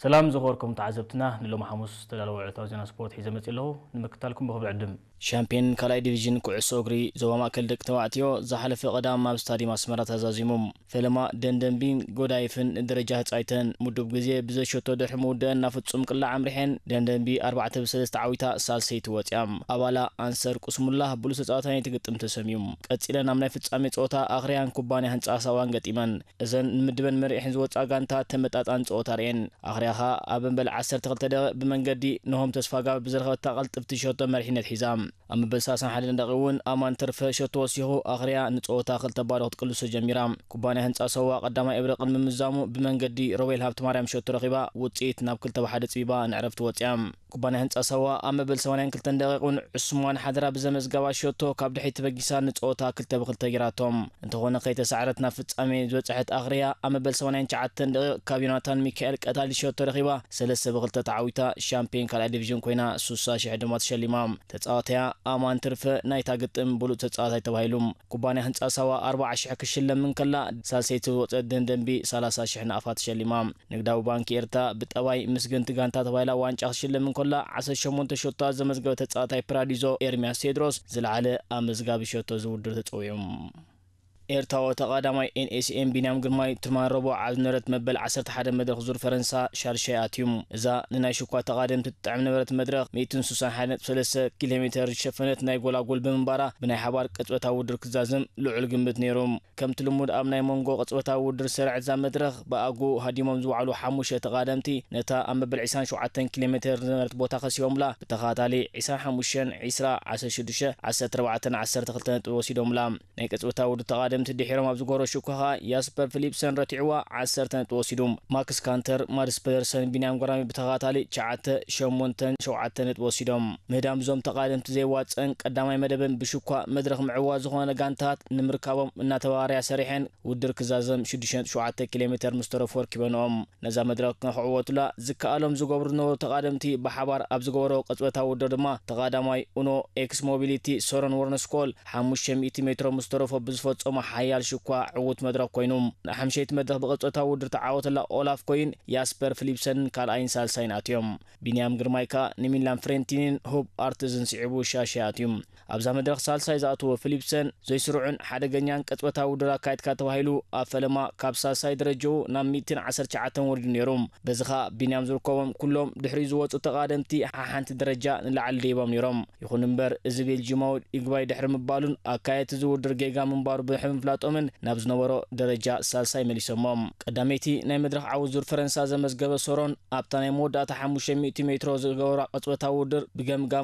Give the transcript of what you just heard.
ሰላም ዝኸበርኩም ተዓዘብትና፣ ንሎሚ ሓሙስ ዝተዳለወ ዕለታዊ ዜና ስፖርት ሒዘ መጺእ ኣለኹ። ንምክታልኩም ብኽብሪ ዕድም። ሻምፒዮን ካልኣይ ዲቪዥን ኩዕሶ እግሪ ዞባ ማእከል ደቂ ተባዕትዮ ዝሓለፈ ቀዳም ኣብ ስታዲየም ኣስመራ ተዛዚሙ። ፈለማ ደንደንቢን ጎዳይፍን ደረጃ ህጻይተን ምዱብ ግዜ ብዘሸቶ ድሕሪ ምውደአን ናብ ፍጹም ቅላዕ ኣምሪሐን፣ ደንደንቢ ኣርባዕተ ብ ሰለስተ ዓዊታ ሳልሰይቲ ወጺኣ። ኣባላ ኣንሰር ቁስሙላ ብሉጽ ተጻዋታይ ናይቲ ግጥም ተሰምዩ። ቀጺለን ኣብ ናይ ፍጻሜ ጸወታ ኣኽርያን ኩባንያ ህንጻ ሳዋን ገጢመን። እዘን ንምድበን መሪሕን ዝወጻ ጋንታ ተመጣጣን ጸወታ ርእየን። ኣኽርያ ኸኣ ኣብ መበል ዓሰርተ ክልተ ደቂቕ ብመንገዲ ነሆም ተስፋጋብ ብዝረኸበታ ቅልጥፍቲ ሸቶ መሪሕነት ሒዛ። ኣብ መበል ሰላሳን ሓደን ደቂቕ እውን ኣማን ተርፈ ሸቶ ወሲኹ ኣኽርያ ንጸወታ ክልተ ባዶ ክትቅልሶ ጀሚራ። ኩባንያ ህንጻ ሰዋ ቀዳማይ እብረ ቅድሚ ምዛሙ ብመንገዲ ሮቤል ሃብተማርያም ሸቶ ረኺባ ውጽኢት ናብ ክልተ ብ ሓደ ጽቢባ ንዕረፍቲ ወጺኣ። ኩባንያ ህንጻ ሰዋ ኣብ መበል ሰማንያን ክልተን ደቂቕ እውን ዑስማን ሓደራ ብዘመዝገባ ሸቶ ካብ ድሕሪት ተበጊሳ ንጸወታ ክልተ ብ ክልተ ጌራቶም። እንተኾነ ከይተሳዕረት ናብ ፍጻሜ ዝበጽሐት ኣኽርያ ኣብ መበል ሰማንያን ትሽዓተን ደቂቕ ካብ ዮናታን ሚካኤል ቀታሊ ሸቶ ረኺባ ሰለስተ ብ ክልተ ተዓዊታ ሻምፒዮን ካልኣይ ዲቪዥን ኮይና ሱሳ ሽሕ ድማ ተሸሊማ። ተጻዋታያ ኣማን ትርፈ ናይታ ግጥም ብሉጽ ተጻዋታይ ተባሂሉ። ኩባንያ ህንጻ ሳዋ ኣርብዓ ሽሕ ክሽለም እንከላ፣ ሳልሰይቲ ዝወጸት ደንደንቢ ሰላሳ ሽሕ ናቕፋ ተሸሊማ። ንግዳዊ ባንኪ ኤርትራ ብጠባይ ምስግንቲ ጋንታ ተባሂላ ዋንጫ ክትሽለም እንከላ፣ ዓሰርተ ሸሞንተ ሸቶታት ዘመዝገበ ተጻዋታይ ፕራዲዞ ኤርሚያስ ቴድሮስ ዝለዓለ ኣመዝጋቢ ሸቶ እዚ ውድድር ተጸዊዑ። ኤርትራዊ ተቓዳማይ ኤንኤስኤም ቢንያም ግርማይ ትማሊ ረቡዕ ኣብ ዝነበረት መበል ዓሰርተ ሓደ መድረኽ ዙር ፈረንሳ ሻርሻይ ኣትዩ። እዛ ንናይ ሽኳ ተቓደምቲ ትጥዕም ነበረት መድረኽ ሚእትን ስሳን ሓደን ነጥቢ ሰለስተ ኪሎ ሜተር ዝሸፈነት ናይ ጎላጎል ብምንባራ ብናይ ሓባር ቅጽበታዊ ውድድር ክዛዘም ልዑል ግምት ነይሩ። ከምቲ ልሙድ ኣብ ናይ መንጎ ቅጽበታዊ ውድድር ዝሰርዐት እዛ መድረኽ ብኣግኡ ሃዲሞም ዝወዓሉ ሓሙሽተ ተቓደምቲ ነታ ኣብ መበል ዕስራን ሸውዓተን ኪሎ ሜተር ዝነበረት ቦታ ከሲቦምላ ብተኸታታሊ ዕስራን ሓሙሽተን፣ ዕስራ፣ ዓሰርተ ሽዱሽተ፣ ዓሰርተ ኣርባዕተን ዓሰርተ ክልተን ነጥቢ ወሲዶምላ። ናይ ቅጽበታዊ ውድድር ተቓደምቲ ድሒሮም ኣብ ዝጎሮ ሽኳ ኸኣ ያስፐር ፊሊፕሰን ረቲዕዋ ዓሰርተ ነጥቢ ወሲዱ። ማክስ ካንተር፣ ማድስ ፐደርሰን፣ ቢንያም ግራሚ ብተኸታታሊ ትሽዓተ፣ ሸሞንተን ሸውዓተን ነጥቢ ወሲዶም። ምህዳም እዞም ተቓደምቲ ዘይዋጸን ቀዳማይ መደበን ብሽኳ መድረኽ ምዕዋት ዝኾነ ጋንታት ንምርካቦም እናተባባርያ ሰሪሐን ውድድር ክዛዘም ሽዱሽተ ነጥቢ ሸውዓተ ኪሎ ሜተር ምስ ተረፎ ኣርኪበንኦም። ነዛ መድረኽ ንኽዕወቱላ ዝከኣሎም ዝገብሩ ዝነበሩ ተቓደምቲ ብሓባር ኣብ ዝገበሮ ቅጽበታዊ ውድድር ድማ ተቓዳማይ ኡኖ ኤክስ ሞቢሊቲ ሶረን ወርነስኮል ሓሙሽተ ሚእቲ ሜትሮ ምስ ተረፎ ብዝፈጸሞ ሓያል ሽኳ ዕዉት መድረኽ ኮይኑ። ንሓምሸይቲ መድረኽ ብቅጽበታዊ ውድድር ተዓወተላ ኦላፍ ኮይን ያስፐር ፊሊፕሰንን ካልኣይን ሳልሳይን ኣትዮም። ቢንያም ግርማይ ከኣ ንሚላን ፍሬንቲኒን ሁብ ኣርትዝን ስዒቡ ሻሻይ ኣትዩ። ኣብዛ መድረኽ ሳልሳይ ዝኣተወ ፊሊፕሰን ዘይስሩዕን ሓደገኛን ቅጽበታዊ ውድድር ኣካይድካ ተባሂሉ ኣብ ፈለማ ካብ ሳልሳይ ደረጃኡ ናብ ሚእትን ዓሰርተ ትሽዓተን ወሪዱ ነይሩ። በዚ ኸኣ ቢንያም ዝርከቦም ኩሎም ድሕሪኡ ዝወጹ ተቓደምቲ ሓሓንቲ ደረጃ ንላዕሊ ደይቦም ነይሮም። ይኹን እምበር እዚ ቤልጂማዊ ይግባይ ድሕሪ ምባሉን ኣካየድቲ እዚ ውድድር ጌጋ ምንባሩ ብድሕሪ ምፍላጦምን ናብ ዝነበሮ ደረጃ ሳልሳይ መሊሶሞ። ቀዳመይቲ ናይ መድረኽ ዓወት ዙር ፈረንሳ ዘመዝገበ ሶሮን ኣብታ ናይ መወዳእታ ሓሙሽተ ሚእቲ ሜትሮ ዝገበራ ቅጽበታዊ ውድድር ብገምጋም